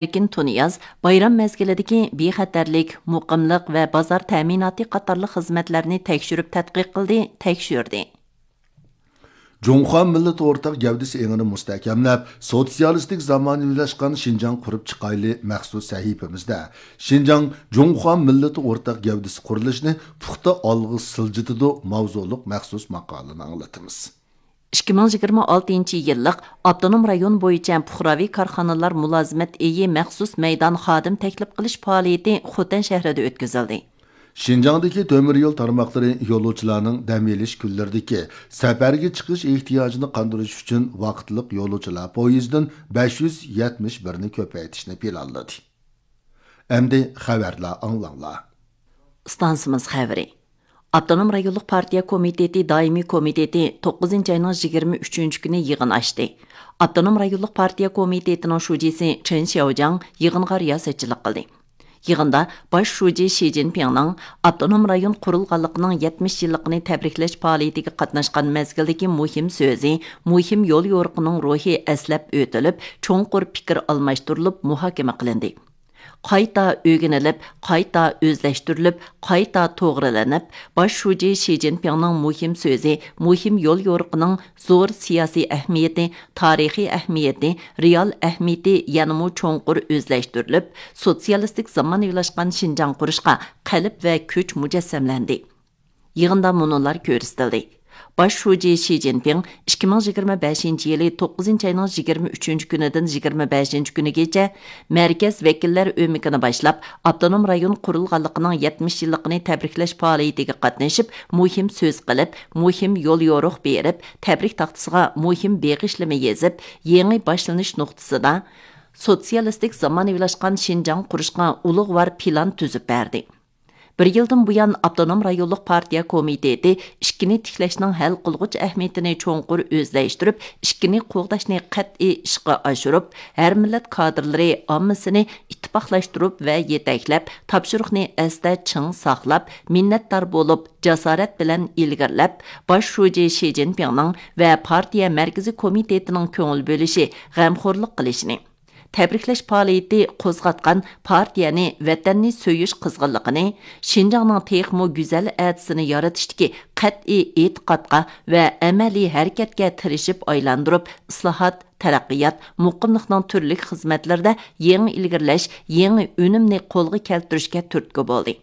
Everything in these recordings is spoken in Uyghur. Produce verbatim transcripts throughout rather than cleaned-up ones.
ئەركىن تۇنىياز بايرام مەزگىلىدىكى بىخەتەرلىك، مۇقىملىق ۋە بازار تەمىناتى قاتارلىق خىزمەتلەرنى تەكشۈرۈپ تەتقىق قىلدى، تەكشۈردى. جۇڭخۇا مىللىتى ئورتاق گەۋدىسى ئېڭىنى مۇستەھكەملەپ، سوتسىيالىستىك زامانىۋىلاشقان شىنجاڭ قۇرۇپ چىقايلى مەخسۇس سەھىپىمىزدە شىنجاڭ جۇڭخۇا مىللىتى ئورتاق گەۋدىسى قۇرۇلۇشىنى پۇختا ئالغا سىلجىتىدۇ ماۋزۇلۇق مەخسۇس ماقالىنى ئاڭلىتىمىز. ئىككى مىڭ يىگىرمە ئالتىنچى يىللىق ئاپتونوم رايون بويىچە پۇقراۋى كارخانىلار مۇلازىمەت ئېيى مەخسۇس مەيدان خادىم تەكلىپ قىلىش پائالىيىتى خوتەن شەھىرىدە ئۆتكۈزۈلدى. شىنجاڭدىكى تۆمۈر يول تارماقلىرى يولۇچىلارنىڭ دەم ئېلىش كۈنلىرىدىكى سەپەرگە چىقىش ئېھتىياجىنى قاندۇرۇش ئۈچۈن ۋاقىتلىق يولۇچىلار پويىزىدىن بەش يۈز يەتمىش بىرنى كۆپەيتىشنى پىلانلىدى. ئەمدى خەۋەرلەر ئاڭلاڭلار. ئىستانسىمىز خەۋىرى. ئاپتونوم رايونلۇق پارتىيە كومىتېتى دائىمىي كومىتېتى توققۇزىنچى ئاينىڭ يىگىرمە ئۈچىنچى كۈنى يىغىن ئاچتى. ئاپتونوم رايونلۇق پارتىيە كومىتېتىنىڭ شۇجىسى چېن شياۋجياڭ يىغىنغا رىياسەتچىلىك قىلدى. يىغىندا باش شۇجى شى جىنپىڭنىڭ ئاپتونوم رايون قۇرۇلغانلىقىنىڭ يەتمىش يىللىقىنى تەبرىكلەش پائالىيىتىگە قاتناشقان مەزگىلدىكى مۇھىم سۆزى، مۇھىم يول يورۇقىنىڭ روھى ئەسلەپ ئۆتۈلۈپ، چوڭقۇر پىكىر ئالماشتۇرۇلۇپ مۇھاكىمە قىلىندى. قايتا ئۆگىنىلىپ، قايتا ئۆزلەشتۈرۈلۈپ، قايتا توغرىلىنىپ، باش شۇجى شى جىنپىڭنىڭ مۇھىم سۆزى، مۇھىم يول يورۇقىنىڭ زور سىياسىي ئەھمىيىتى، تارىخىي ئەھمىيىتى، رېئال ئەھمىيىتى يەنىمۇ چوڭقۇر ئۆزلەشتۈرۈلۈپ، سوتسىيالىستىك زامانىۋىلاشقان شىنجاڭ قۇرۇشقا قەلب ۋە كۈچ مۇجەسسەملەندى. يىغىندا مۇنۇلار كۆرسىتىلدى. باش شۇجى شى جىنپىڭ ئىككى مىڭ يىگىرمە بەشىنچى يىلى توققۇزىنچى ئاينىڭ يىگىرمە ئۈچىنچى كۈنىدىن يىگىرمە بەشىنچى كۈنىگىچە مەركەز ۋەكىللەر ئۆمىكىنى باشلاپ، ئاپتونوم رايون قۇرۇلغانلىقىنىڭ يەتمىش يىللىقىنى تەبرىكلەش پائالىيىتىگە قاتنىشىپ، مۇھىم سۆز قىلىپ، مۇھىم يول يورۇق بېرىپ، تەبرىك تاختىسىغا مۇھىم بېغىشلىما يېزىپ، يېڭى باشلىنىش نۇقتىسىدا سوتسىيالىستىك زامانىۋىلاشقان شىنجاڭ قۇرۇشقا ئۇلۇغۋار پىلان تۈزۈپ بەردى. بىر يىلدىن بۇيان، ئاپتونوم رايونلۇق پارتىيە كومىتېتى ئىككىنى تىكلەشنىڭ ھەل قىلغۇچ ئەھمىيىتىنى چوڭقۇر ئۆزلەشتۈرۈپ، ئىككىنى قوغداشنى قەتئىي ئىشقا ئاشۇرۇپ، ھەر مىللەت كادىرلىرى ئاممىسىنى ئىتتىپاقلاشتۇرۇپ ۋە يېتەكلەپ، تاپشۇرۇقنى ئەستە چىڭ ساقلاپ، مىننەتدار بولۇپ، جاسارەت بىلەن ئىلگىرىلەپ، باش شۇجى شى جىنپىڭنىڭ ۋە پارتىيە مەركىزىي كومىتېتىنىڭ كۆڭۈل بۆلۈشى، غەمخورلۇق قىلىشىنى، تەبرىكلەش پائالىيىتى قوزغاتقان پارتىيەنى، ۋەتەننى سۆيۈش قىزغىنلىقىنى، شىنجاڭنىڭ تېخىمۇ گۈزەل ئەتىسىنى يارىتىشتىكى قەتئىي ئېتىقادقا ۋە ئەمەلىي ھەرىكەتكە تىرىشىپ ئايلاندۇرۇپ، ئىسلاھات، تەرەققىيات، مۇقىملىقنىڭ تۈرلۈك خىزمەتلىرىدە يېڭى ئىلگىرىلەش، يېڭى ئۈنۈمنى قولغا كەلتۈرۈشكە تۈرتكە بولدى.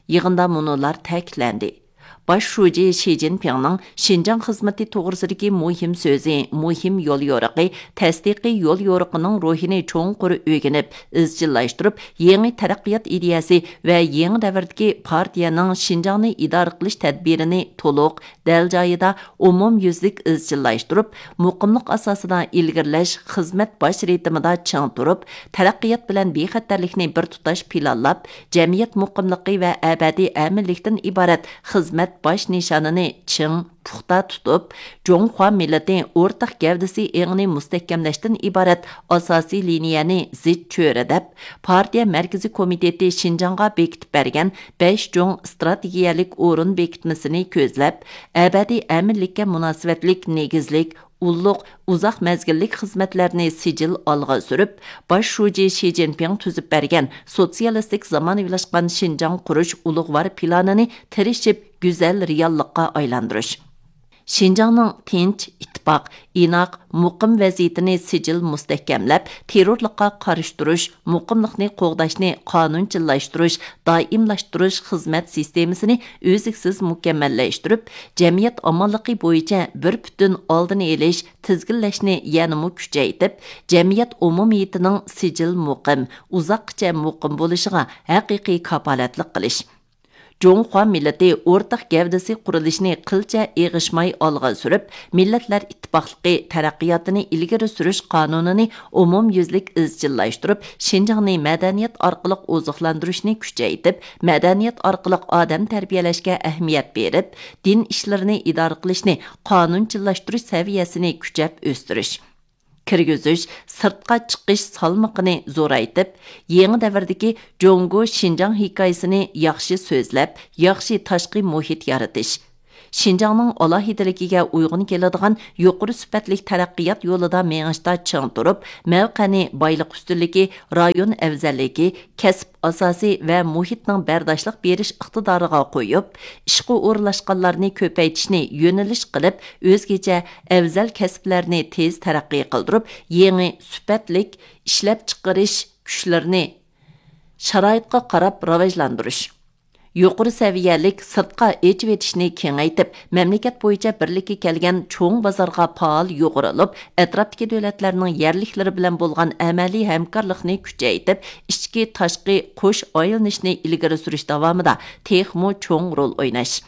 يىغىندا مۇنۇلار تەكىتلەندى. باش شۇجى شى جىنپىڭنىڭ شىنجاڭ خىزمىتى توغرىسىدىكى مۇھىم سۆزى، مۇھىم يول يورۇقى، تەستىقىي يول يورۇقىنىڭ روھىنى چوڭقۇر ئۆگىنىپ، ئىزچىللاشتۇرۇپ، يېڭى تەرەققىيات ئىدىيەسى ۋە يېڭى دەۋردىكى پارتىيەنىڭ شىنجاڭنى ئىدارە قىلىش تەدبىرىنى تولۇق، دەل جايىدا، ئومۇميۈزلۈك ئىزچىللاشتۇرۇپ، مۇقىملىق ئاساسىدا ئىلگىرىلەش خىزمەت باش رىتىمىدا چىڭ تۇرۇپ، تەرەققىيات بىلەن بىخەتەرلىكنى بىر تۇتاش پىلانلاپ، جەمئىيەت مۇقىملىقى ۋە ئەبەدىي ئەمىنلىكتىن ئىبارەت خىزمەت باش نىشانىنى چىڭ، پۇختا تۇتۇپ، جۇڭخۇا مىللىتى ئورتاق گەۋدىسى ئېڭىنى مۇستەھكەملەشتىن ئىبارەت ئاساسىي لىنىيەنى زىچ چۆرىدەپ، پارتىيە مەركىزىي كومىتېتى شىنجاڭغا بېكىتىپ بەرگەن بەش جۇڭ ئىستراتېگىيەلىك ئورۇن بېكىتمىسىنى كۆزلەپ، ئەبەدىي ئەمىنلىككە مۇناسىۋەتلىك نېگىزلىك، ئۇللۇق، ئۇزاق مەزگىللىك خىزمەتلەرنى سىجىل ئالغا سۈرۈپ، باش شۇجى شى جىنپىڭ تۈزۈپ بەرگەن سوتسىيالىستىك زامانىۋىلاشقان شىنجاڭ قۇرۇش ئۇلۇغۋار پىلانىنى تىرىشىپ گۈزەل رېئاللىققا ئايلاندۇرۇش. شىنجاڭنىڭ تىنچ، ئىتتىپاق، ئىناق، مۇقىم ۋەزىيىتىنى سىجىل مۇستەھكەملەپ، تېررورلۇققا قارشى تۇرۇش، مۇقىملىقنى قوغداشنى قانۇنچىللاشتۇرۇش، دائىملاشتۇرۇش خىزمەت سىستېمىسىنى ئۈزلۈكسىز مۇكەممەللەشتۈرۈپ، جەمئىيەت ئامانلىقى بويىچە بىر پۈتۈن ئالدىنى ئېلىش، تىزگىنلەشنى يەنىمۇ كۈچەيتىپ، جەمئىيەت ئومۇمىيىتىنىڭ سىجىل مۇقىم، ئۇزاققىچە مۇقىم بولۇشىغا ھەقىقىي كاپالەتلىك قىلىش. جۇڭخۇا مىللىتى ئورتاق گەۋدىسى قۇرۇلۇشىنى قىلچە ئېغىشماي ئالغا سۈرۈپ، مىللەتلەر ئىتتىپاقلىقى تەرەققىياتىنى ئىلگىرى سۈرۈش قانۇنىنى ئومۇميۈزلۈك ئىزچىللاشتۇرۇپ، شىنجاڭنى مەدەنىيەت ئارقىلىق ئوزۇقلاندۇرۇشنى كۈچەيتىپ، مەدەنىيەت ئارقىلىق ئادەم تەربىيەلەشكە ئەھمىيەت بېرىپ، دىن ئىشلىرىنى ئىدارە قىلىشنى قانۇنچىللاشتۇرۇش سەۋىيەسىنى كۈچەپ ئۆستۈرۈش. كىرگۈزۈش، سىرتقا چىقىش سالمىقىنى زورايتىپ، يېڭى دەۋردىكى جۇڭگو شىنجاڭ ھېكايىسىنى ياخشى سۆزلەپ، ياخشى تاشقى مۇھىت يارىتىش. شىنجاڭنىڭ ئالاھىدىلىكىگە ئۇيغۇن كېلىدىغان يۇقىرى سۈپەتلىك تەرەققىيات يولىدا مېڭىشتا چىڭ تۇرۇپ، مەۋقەنى بايلىق ئۈستۈنلۈكى، رايون ئەۋزەللىكى، كەسىپ ئاساسى ۋە مۇھىتنىڭ بەرداشلىق بېرىش ئىقتىدارىغا قويۇپ، ئىشقا ئورۇنلاشقانلارنى كۆپەيتىشنى يۆنىلىش قىلىپ، ئۆزگىچە ئەۋزەل كەسىپلەرنى تېز تەرەققىي قىلدۇرۇپ، يېڭى سۈپەتلىك ئىشلەپچىقىرىش كۈچلىرىنى شارائىتقا قاراپ راۋاجلاندۇرۇش. يۇقىرى سەۋىيەلىك سىرتقا ئېچىۋېتىشنى كېڭەيتىپ، مەملىكەت بويىچە بىرلىككە كەلگەن چوڭ بازارغا پائال يۇغۇرۇلۇپ، ئەتراپتىكى دۆلەتلەرنىڭ يەرلىكلىرى بىلەن بولغان ئەمەلىي ھەمكارلىقنى كۈچەيتىپ، ئىچكى، تاشقى قوش ئايلىنىشنى ئىلگىرى سۈرۈش داۋامىدا تېخىمۇ چوڭ رول ئويناش.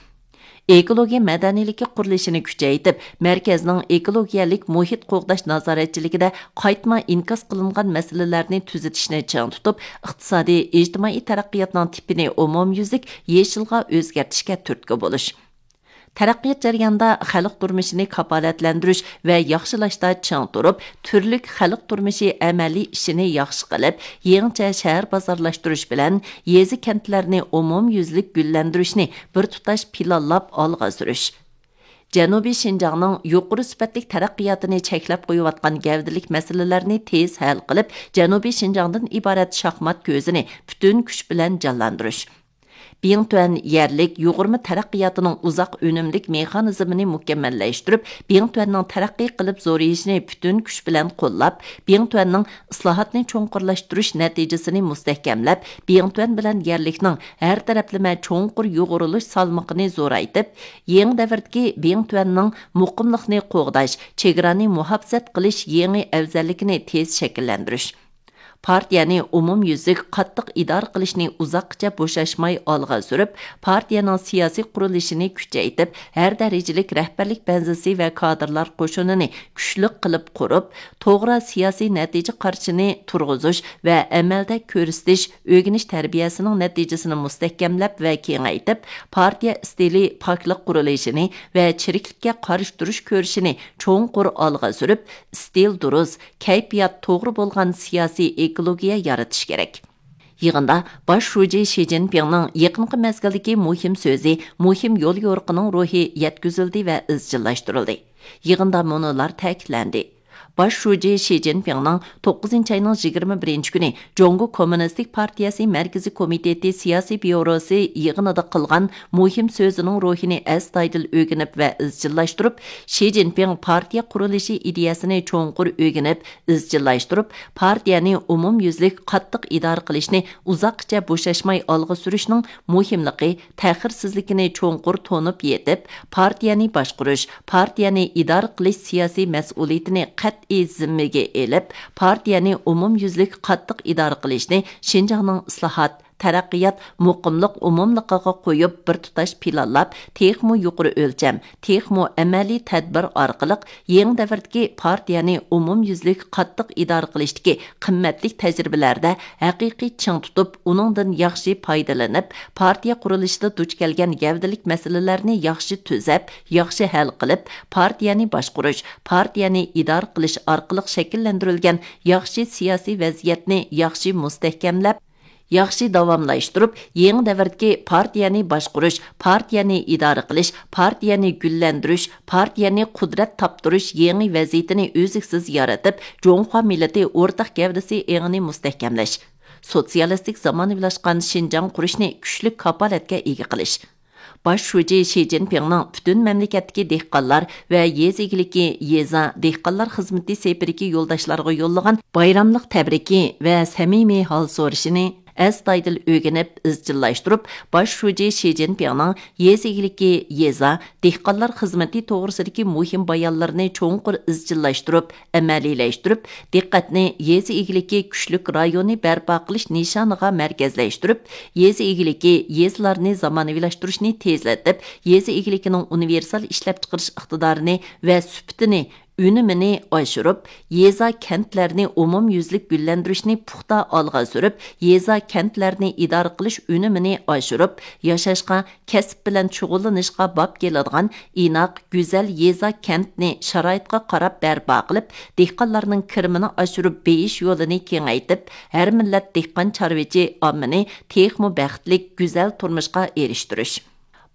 ئېكولوگىيە مەدەنىيلىكى قۇرۇلۇشىنى كۈچەيتىپ، مەركەزنىڭ ئېكولوگىيەلىك مۇھىت قوغداش نازارەتچىلىكىدە قايتما ئىنكاس قىلىنغان مەسىلىلەرنى تۈزىتىشنى چىڭ تۇتۇپ، ئىقتىسادىي، ئىجتىمائىي تەرەققىياتنىڭ تىپىنى ئومۇميۈزلۈك يېشىلغا ئۆزگەرتىشكە تۈرتكە بولۇش. تەرەققىيات جەريانىدا خەلق تۇرمۇشىنى كاپالەتلەندۈرۈش ۋە ياخشىلاشتا چىڭ تۇرۇپ، تۈرلۈك خەلق تۇرمۇشى ئەمەلىي ئىشىنى ياخشى قىلىپ، يېڭىچە شەھەر بازارلاشتۇرۇش بىلەن يېزا، كەنتلەرنى ئومۇميۈزلۈك گۈللەندۈرۈشنى بىر تۇتاش پىلانلاپ ئالغا سۈرۈش. جەنۇبىي شىنجاڭنىڭ يۇقىرى سۈپەتلىك تەرەققىياتىنى چەكلەپ قويۇۋاتقان گەۋدىلىك مەسىلىلەرنى تېز ھەل قىلىپ، جەنۇبىي شىنجاڭدىن ئىبارەت شاھمات كۆزىنى پۈتۈن كۈچ بىلەن جانلاندۇرۇش. بىڭتۈەن يەرلىك يۇغۇرما تەرەققىياتىنىڭ ئۇزاق ئۈنۈملۈك مېخانىزمىنى مۇكەممەللەشتۈرۈپ، بىڭتۈەننىڭ تەرەققىي قىلىپ زورىيىشىنى پۈتۈن كۈچ بىلەن قوللاپ، بىڭتۈەننىڭ ئىسلاھاتنى چوڭقۇرلاشتۇرۇش نەتىجىسىنى مۇستەھكەملەپ، بىڭتۈەن بىلەن يەرلىكنىڭ ھەر تەرەپلىمە چوڭقۇر يۇغۇرۇلۇش سالمىقىنى زورايتىپ، يېڭى دەۋردىكى بىڭتۈەننىڭ مۇقىملىقنى قوغداش، چېگرانى مۇھاپىزەت قىلىش يېڭى ئەۋزەللىكىنى تېز شەكىللەندۈرۈش. پارتىيەنى ئومۇميۈزلۈك قاتتىق ئىدارە قىلىشنى ئۇزاققىچە بوشاشماي ئالغا سۈرۈپ، پارتىيەنىڭ سىياسىي قۇرۇلۇشىنى كۈچەيتىپ، ھەر دەرىجىلىك رەھبەرلىك بەنزىسى ۋە كادىرلار قوشۇنىنى كۈچلۈك قىلىپ قۇرۇپ، توغرا سىياسىي نەتىجە قارىشىنى تۇرغۇزۇش ۋە ئەمەلدە كۆرسىتىش، ئۆگىنىش تەربىيەسىنىڭ نەتىجىسىنى مۇستەھكەملەپ ۋە كېڭەيتىپ، پارتىيە ئىستىلى پاكلىق قۇرۇلۇشىنى ۋە چىرىكلىككە قارشى تۇرۇش كۈرىشىنى چوڭقۇر ئالغا سۈرۈپ، ئىستىل دۇرۇس، كەيپىيات توغرا بولغان سىياسىي ئېكولوگىيە يارىتىش كېرەك. يىغىندا باش شۇجى شى جىنپىڭنىڭ يېقىنقى مەزگىلدىكى مۇھىم سۆزى، مۇھىم يوليورۇقىنىڭ روھى يەتكۈزۈلدى ۋە ئىزچىللاشتۇرۇلدى. يىغىندا مۇنۇلار تەكىتلەندى. باش شۇجى شى جىنپىڭنىڭ توققۇزىنچى ئاينىڭ يىگىرمە بىرىنچى كۈنى جۇڭگو كوممۇنىستىك پارتىيەسى مەركىزىي كومىتېتى سىياسىي بيۇروسى يىغىنىدا قىلغان مۇھىم سۆزىنىڭ روھىنى ئەستايىدىل ئۆگىنىپ ۋە ئىزچىللاشتۇرۇپ، شى جىنپىڭ پارتىيە قۇرۇلۇشى ئىدىيەسىنى چوڭقۇر ئۆگىنىپ، ئىزچىللاشتۇرۇپ، پارتىيەنى ئومۇميۈزلۈك قاتتىق ئىدارە قىلىشنى ئۇزاققىچە بوشاشماي ئالغا سۈرۈشنىڭ مۇھىملىقى، تەخىرسىزلىكىنى چوڭقۇر تونۇپ يېتىپ، پارتىيەنى باشقۇرۇش، پارتىيەنى ئىدارە قىلىش سىياسىي مەسئۇلىيىتىنى قەتئىي زىممىگە ئېلىپ، پارتىيەنى ئومۇميۈزلۈك قاتتىق ئىدارە قىلىشنى شىنجاڭنىڭ ئىسلاھات، تەرەققىيات، مۇقىملىق ئومۇملۇقىغا قويۇپ، بىر تۇتاش پىلانلاپ، تېخىمۇ يۇقىرى ئۆلچەم، تېخىمۇ ئەمەلىي تەدبىر ئارقىلىق يېڭى دەۋردىكى پارتىيەنى ئومۇميۈزلۈك قاتتىق ئىدارە قىلىشتىكى قىممەتلىك تەجرىبىلەردە ھەقىقىي چىڭ تۇتۇپ، ئۇنىڭدىن ياخشى پايدىلىنىپ، پارتىيە قۇرۇلۇشىدا دۇچ كەلگەن گەۋدىلىك مەسىلىلەرنى ياخشى تۈزەپ، ياخشى ھەل قىلىپ، پارتىيەنى باشقۇرۇش، پارتىيەنى ئىدارە قىلىش ئارقىلىق شەكىللەندۈرۈلگەن ياخشى سىياسىي ۋەزىيەتنى ياخشى مۇستەھكەملەپ، ياخشى داۋاملاشتۇرۇپ، يېڭى دەۋردىكى پارتىيەنى باشقۇرۇش، پارتىيەنى ئىدارە قىلىش، پارتىيەنى گۈللەندۈرۈش، پارتىيەنى قۇدرەت تاپتۇرۇش يېڭى ۋەزىپىنى ئۈزلۈكسىز يارىتىپ، جۇڭخۇا مىللىتى ئورتاق گەۋدىسى ئېڭىنى مۇستەھكەملەش، سوتسىيالىستىك زامانىۋىلاشقان شىنجاڭ قۇرۇشنى كۈچلۈك كاپالەتكە ئىگە قىلىش. باش شۇجى شى جىنپىڭنىڭ پۈتۈن مەملىكەتتىكى دېھقانلار ۋە يېزا ئىگىلىكى، يېزا، دېھقانلار خىزمىتى سېپىرىدىكى يولداشلارغا يوللىغان بايراملىق تەبرىكى ۋە سەمىمىي ھال سورىشىنى ئەستايىدىل ئۆگىنىپ، ئىزچىللاشتۇرۇپ، باش شۇجى شى جىنپىڭنىڭ يېزا ئىگىلىكى، يېزا، دېھقانلار خىزمىتى توغرىسىدىكى مۇھىم بايانلىرىنى چوڭقۇر ئىزچىللاشتۇرۇپ، ئەمەلىيلەشتۈرۈپ، دىققەتنى يېزا ئىگىلىكى كۈچلۈك رايونى بەرپا قىلىش نىشانىغا مەركەزلەشتۈرۈپ، يېزا ئىگىلىكى، يېزىلارنى زامانىۋىلاشتۇرۇشنى تېزلىتىپ، يېزا ئىگىلىكىنىڭ ئۇنىۋېرسال ئىشلەپچىقىرىش ئىقتىدارىنى ۋە سۈپىتىنى، ئۈنۈمىنى ئاشۇرۇپ، يېزا، كەنتلەرنى ئومۇميۈزلۈك گۈللەندۈرۈشنى پۇختا ئالغا سۈرۈپ، يېزا، كەنتلەرنى ئىدارە قىلىش ئۈنۈمىنى ئاشۇرۇپ، ياشاشقا، كەسىپ بىلەن شۇغۇللىنىشقا باب كېلىدىغان ئىناق، گۈزەل يېزا، كەنتنى شارائىتقا قاراپ بەرپا قىلىپ، دېھقانلارنىڭ كىرىمىنى ئاشۇرۇپ بېيىش يولىنى كېڭەيتىپ، ھەر مىللەت دېھقان، چارۋىچى ئاممىنى تېخىمۇ بەختلىك، گۈزەل تۇرمۇشقا ئېرىشتۈرۈش.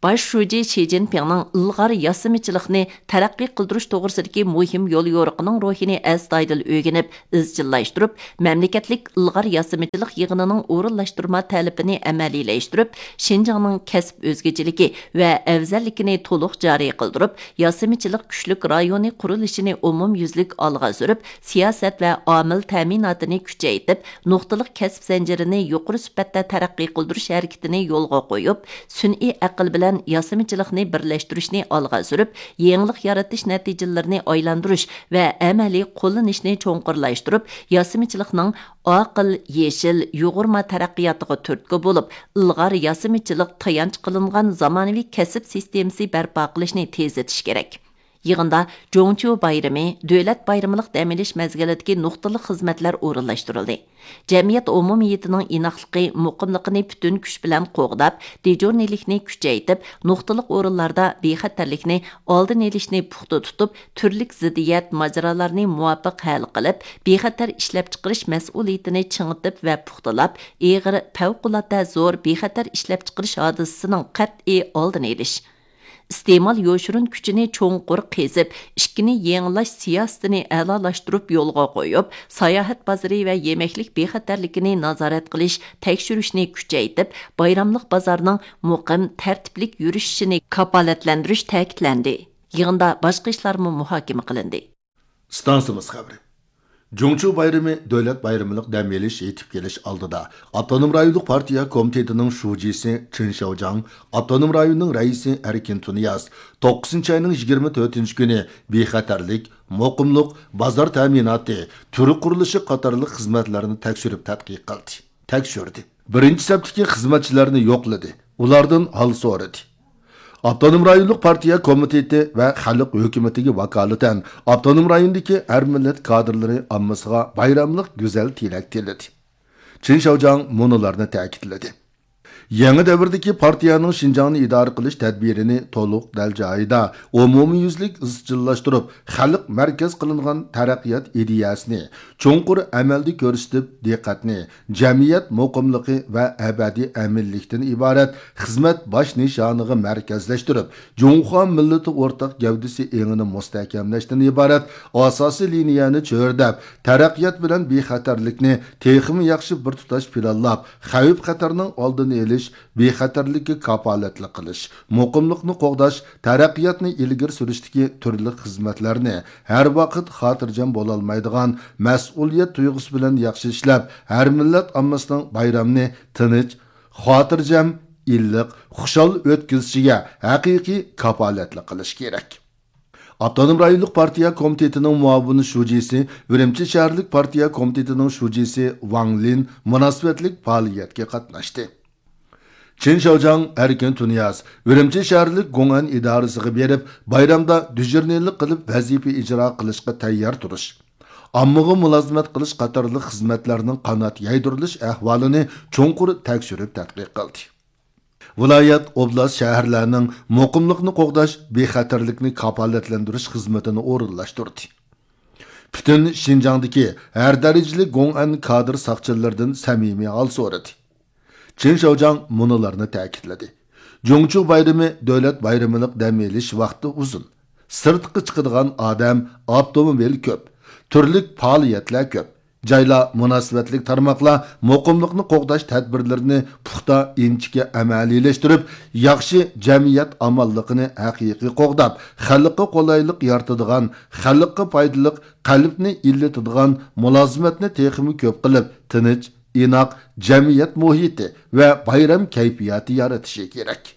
باش شۇجى شى جىنپىڭنىڭ ئىلغار ياسىمىچىلىقنى تەرەققىي قىلدۇرۇش توغرىسىدىكى مۇھىم يول يورۇقىنىڭ روھىنى ئەستايىدىل ئۆگىنىپ، ئىزچىللاشتۇرۇپ، مەملىكەتلىك ئىلغار ياسىمىچىلىق يىغىنىنىڭ ئورۇنلاشتۇرما تەلىپىنى ئەمەلىيلەشتۈرۈپ، شىنجاڭنىڭ كەسىپ ئۆزگىچىلىكى ۋە ئەۋزەللىكىنى تولۇق جارى قىلدۇرۇپ، ياسىمىچىلىق كۈچلۈك رايونى قۇرۇلۇشىنى ئومۇميۈزلۈك ئالغا سۈرۈپ، سىياسەت ۋە ئامىل تەمىناتىنى كۈچەيتىپ، نۇقتىلىق كەسىپ زەنجىرىنى يۇقىرى سۈپەتتە تەرەققىي قىلدۇرۇش ھەرىكىتىنى يولغا قويۇپ، سۈنئىي ئەقىل بىلەن ياسىمىچىلىقنى بىرلەشتۈرۈشنى ئالغا سۈرۈپ، يېڭىلىق يارىتىش نەتىجىلىرىنى ئايلاندۇرۇش ۋە ئەمەلىي قوللىنىشنى چوڭقۇرلاشتۇرۇپ، ياسىمىچىلىقنىڭ ئاقىل، يېشىل، يۇغۇرما تەرەققىياتىغا تۈرتكە بولۇپ، ئىلغار ياسىمىچىلىق تايانچ قىلىنغان زامانىۋى كەسىپ سىستېمىسى بەرپا قىلىشنى تېزلىتىش كېرەك. يىغىندا جۇڭچيۇ بايرىمى، دۆلەت بايرىمىلىق دەم ئېلىش مەزگىلىدىكى نۇقتىلىق خىزمەتلەر ئورۇنلاشتۇرۇلدى. جەمئىيەت ئومۇمىيىتىنىڭ ئىناقلىقى، مۇقىملىقىنى پۈتۈن كۈچ بىلەن قوغداپ، دېجۇرنىيلىكنى كۈچەيتىپ، نۇقتىلىق ئورۇنلاردا بىخەتەرلىكنى ئالدىنى ئېلىشنى پۇختا تۇتۇپ، تۈرلۈك زىددىيەت، ماجىرالارنى مۇۋاپىق ھەل قىلىپ، بىخەتەر ئىشلەپچىقىرىش مەسئۇلىيىتىنى چىڭىتىپ ۋە پۇختىلاپ، ئېغىر، پەۋقۇلئاددە زور بىخەتەر ئىشلەپچىقىرىش ھادىسىسىنىڭ قەتئىي ئالدىنى ئېلىش. ئىستېمال يوشۇرۇن كۈچىنى چوڭقۇر قېزىپ، ئىشىكنى يېڭىلاش سىياسىتىنى ئەلالاشتۇرۇپ يولغا قويۇپ، ساياھەت بازىرى ۋە يېمەكلىك بىخەتەرلىكىنى نازارەت قىلىش، تەكشۈرۈشنى كۈچەيتىپ، بايراملىق بازارنىڭ مۇقىم، تەرتىپلىك يۈرۈشۈشىنى كاپالەتلەندۈرۈش تەكىتلەندى. يىغىندا باشقا ئىشلارمۇ مۇھاكىمە قىلىندى. ئىستانسىمىز خەۋىرى. جۇڭچۇ بايرىمى دۆلەت بايرىمىلىق دەم ئېلىش يېتىپ كېلىش ئالدىدا، ئاپتونوم رايونلۇق پارتىيە كومىتېتىنىڭ شۇجىسى چېن شياۋجياڭ، ئاپتونوم رايوننىڭ رەئىسى ئەركىن تۇنىياز توققۇزىنچى ئاينىڭ يىگىرمە تۆتىنچى كۈنى بىخەتەرلىك، مۇقىملىق، بازار تەمىناتى، تۈر قۇرۇلۇشى قاتارلىق خىزمەتلەرنى تەكشۈرۈپ تەتقىق قىلدى. تەكشۈردى. بىرىنچى سەپتىكى خىزمەتچىلەرنى يوقلىدى، ئۇلاردىن ھال سورىدى. ئاپتونوم رايونلۇق پارتىيە كومىتېتى ۋە خەلق ھۆكۈمىتىگە ۋاكالىتەن ئاپتونوم رايوندىكى ھەر مىللەت كادىرلىرى ئاممىسىغا بايراملىق گۈزەل تىلەك تىلىدى. چېن شياۋجياڭ مۇنۇلارنى تەكىتلىدى. يېڭى دەۋردىكى پارتىيەنىڭ شىنجاڭنى ئىدارە قىلىش تەدبىرىنى تولۇق دەل جايىدا، ئومۇميۈزلۈك ئىزچىللاشتۇرۇپ، خەلق مەركەز قىلىنغان تەرەققىيات ئىدىيەسىنى چوڭقۇر ئەمەلدە كۆرسىتىپ، دىققەتنى جەمئىيەت مۇقىملىقى ۋە ئەبەدىي ئەمىنلىكتىن ئىبارەت خىزمەت باش نىشانىغا مەركەزلەشتۈرۈپ، جۇڭخۇا مىللىتى ئورتاق گەۋدىسى ئېڭىنى مۇستەھكەملەشتىن ئىبارەت ئاساسىي لىنىيەنى چۆرىدەپ، تەرەققىيات بىلەن بىخەتەرلىكنى تېخىمۇ ياخشى بىر تۇتاش پىلانلاپ، خەۋپ-خەتەرنىڭ ئالدىنى ئېلىش، بىخەتەرلىككە كاپالەتلىك قىلىش، مۇقىملىقنى قوغداش، تەرەققىياتنى ئىلگىرى سۈرۈشتىكى تۈرلۈك خىزمەتلەرنى ھەر ۋاقىت خاتىرجەم بولالمايدىغان مەسئۇلىيەت تۇيغۇسى بىلەن ياخشى ئىشلەپ، ھەر مىللەت ئاممىسىنىڭ بايرامنى تىنچ، خاتىرجەم، ئىللىق، خۇشال ئۆتكۈزۈشىگە ھەقىقىي كاپالەتلىك قىلىش كېرەك. ئاپتونوم رايونلۇق پارتىيە كومىتېتىنىڭ مۇئاۋىن شۇجىسى، ئۈرۈمچى شەھەرلىك پارتىيە كومىتېتىنىڭ شۇجىسى ۋاڭ لىن مۇناسىۋەتلىك پائالىيەتكە قاتناشتى. چېن شياۋجياڭ، ئەركىن تۇنىياز ئۈرۈمچى شەھەرلىك گوڭئەن ئىدارىسىغا بېرىپ، بايرامدا دىجورنىيلىق قىلىپ ۋەزىپە ئىجرا قىلىشقا تەييار تۇرۇش، ئاممىغا مۇلازىمەت قىلىش قاتارلىق خىزمەتلەرنىڭ قانات يايدۇرۇلۇش ئەھۋالىنى چوڭقۇر تەكشۈرۈپ تەتقىق قىلدى. ۋىلايەت، ئوبلاست، شەھەرلەرنىڭ مۇقىملىقنى قوغداش، بىخەتەرلىكنى كاپالەتلەندۈرۈش خىزمىتىنى ئورۇنلاشتۇردى. پۈتۈن شىنجاڭدىكى ھەر دەرىجىلىك گوڭئەن كادىر ساقچىلىرىدىن سەمىمىي ھال سورىدى. چېن شياۋجياڭ مۇنۇلارنى تەكىتلىدى: جۇڭچۇ بايرىمى دۆلەت بايرىمىلىق دەم ئېلىش ۋاقتى ئۇزۇن. سىرتقا چىقىدىغان ئادەم، ئاپتوموبىل كۆپ، تۈرلۈك پائالىيەتلەر كۆپ. جايلار، مۇناسىۋەتلىك تارماقلار مۇقىملىقنى قوغداش تەدبىرلىرىنى پۇختا، ئىنچىكە ئەمەلىيلەشتۈرۈپ، ياخشى جەمئىيەت ئامانلىقىنى ھەقىقىي قوغداپ، خەلققە قولايلىق يارىتىدىغان، خەلققە پايدىلىق، قەلبنى ئىللىتىدىغان مۇلازىمەتنى تېخىمۇ كۆپ قىلىپ، تىنچ، ئىناق جەمئىيەت مۇھىتى ۋە بايرام كەيپىياتى يارىتىشى كېرەك.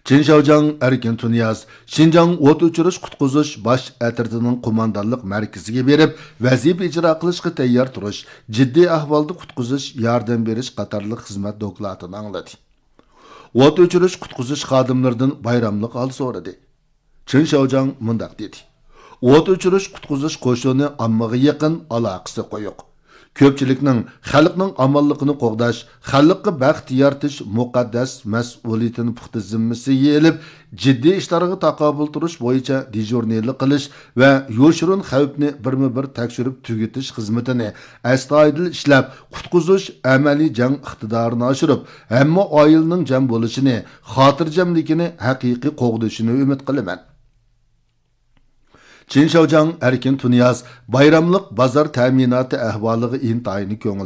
چېن شياۋجياڭ، ئەركىن تۇنىياز شىنجاڭ ئوت ئۆچۈرۈش قۇتقۇزۇش باش ئەترىتىنىڭ قوماندانلىق مەركىزىگە بېرىپ، ۋەزىپە ئىجرا قىلىشقا تەييار تۇرۇش، جىددىي ئەھۋالدا قۇتقۇزۇش، ياردەم بېرىش قاتارلىق خىزمەت دوكلاتىنى ئاڭلىدى. ئوت ئۆچۈرۈش قۇتقۇزۇش خادىملىرىدىن بايراملىق ھال سورىدى. چېن شياۋجياڭ مۇنداق دېدى: ئوت ئۆچۈرۈش قۇتقۇزۇش قوشۇنى ئاممىغا يېقىن، ئالاقىسى قويۇق. كۆپچىلىكنىڭ، خەلقنىڭ ئامانلىقىنى قوغداش، خەلققە بەخت يارىتىش مۇقەددەس مەسئۇلىيىتىنى پۇختا زىممىسىگە ئېلىپ، جىددىي ئىشلارغا تاقابىل تۇرۇش بويىچە دېژۇرنىلىق قىلىش ۋە يوشۇرۇن خەۋپنى بىرمۇ بىر تەكشۈرۈپ تۈگىتىش خىزمىتىنى ئەستايىدىل ئىشلەپ، قۇتقۇزۇش ئەمەلىي جەڭ ئىقتىدارىنى ئاشۇرۇپ، ھەممە ئائىلىنىڭ جەم بولۇشىنى، خاتىرجەملىكىنى ھەقىقىي قوغدىشىنى ئۈمىد قىلىمەن. چىن شياۋجياڭ ئەركىن تۇنىياز بايراملىق بازار تەمىناتى ئەھۋالىغا ئىنتايىن كۆڭۈل